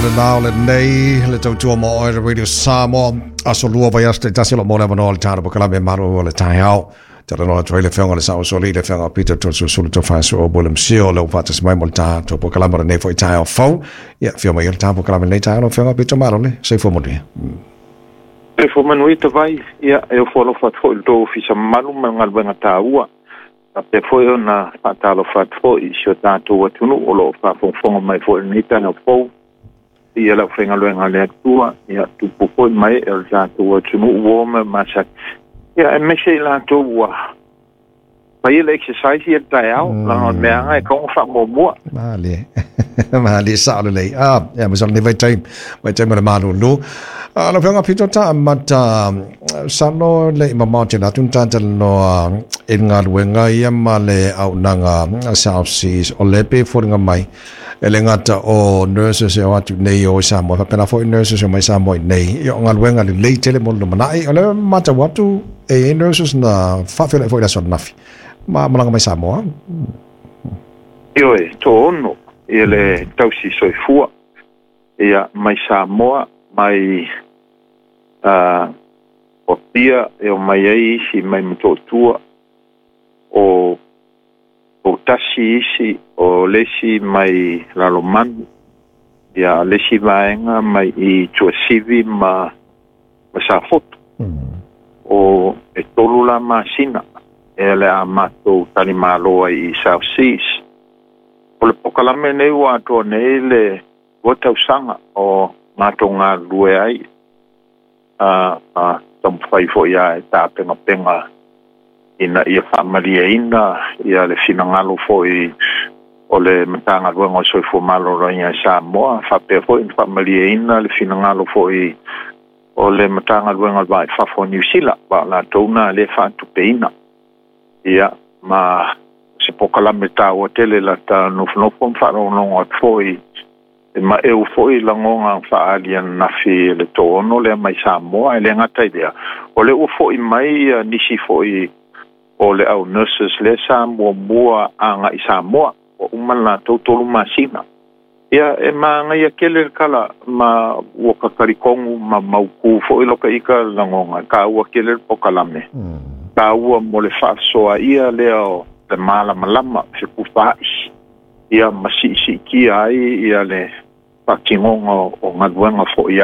le lao lenei le tautua mo oe le Radio Samoa. Aso lua vai aso te tasi o lo mo le avanoa le tāna pokalame malo o le taeao. Talanoa atu ai le afioga i le Sao Soli, le afioga Peter Toeolesulusulu Tofaeoso'o William Sio, le ua faatasi mai mo le tatou pokalame o lenei foi taeao fou. Ia, afio mai i le tatou pokalame i lenei taeao, lau afioga Peter Malo le soifua manuia. Soifua manuia Tavai, ia e ofo alofa atu foi i le tou ofisa mamalu ma le galuega taua. Faapea foi ona faatalofa atu foi i si o tatou atunuu o lo o faafogafoga mai foi i lenei taeao fou. Ia le aufaigaluega a le Atua, ia tupu foi ma ee o le tatou atunuu ua o ma masani. Ia aemaise i latou ua faia le exercise ia le taeao, leaga o le meaaga e tatau ona faamuamua. Malie. Malie sao lelei. Ah, ia ma lenei vaitaimi, vaitaimi o le malulu. Ah, lau Afioga Pito ta amata salo le i mamao tele atu na talanoa i le galuega ia ma le auaunaga South Seas o lea pei e foliga mai e le gata o nurses e o atu nei o i Samoa, faapena foi nurses e o mai Samoa i nei. Ia o galuega lelei tele mo le lumanai. O lea e matau atu e i ai nurses na faafeiloai foi i le aso ananafi ma malaga mai Samoa. Ioe, toaono ia le tausi soifua ia mai Samoa mai Apia e omai ai isi mai Motootua o Poutasi isi o le isi mai Lalomanu ia le isi vaega mai i Tuasivi ma Safotu. O e 3 la masina e le a matou talimalo ai i South Seas. O le pokalame nei ua atoa nei le 2 tausaga o matou galulue ai a taumafai foi lava e tapenapena ina ia faamalieina ia le finagalo foi o le Matagaluega o le Soifua Maloloina i Samoa, faapea foi ona faamalieina le finagalo foi o le Matagaluega o le Va i Fafo o Niu Sila, aua o latou na lea e faatupeina. Ia, ma se pokalame taua tele lata nofonofo ma faalogologo atu foi e maeu foi lagona faaali ananafi i le toaono lea mai Samoa. E le gata i lea, o lea ua foi mai nisi foi o le au nurses lea sa muamua agai Samoa, ua uma le latou 3 masina. Ia, e manaia tele le tala ma ua talitonu ma mautu foi loka ita lagona, e taua tele le pokalame. Taua mo le faasoaia lea o le malamalama fetufaai, ia ma siisiitia ai ia le faatinoga o galuega foi.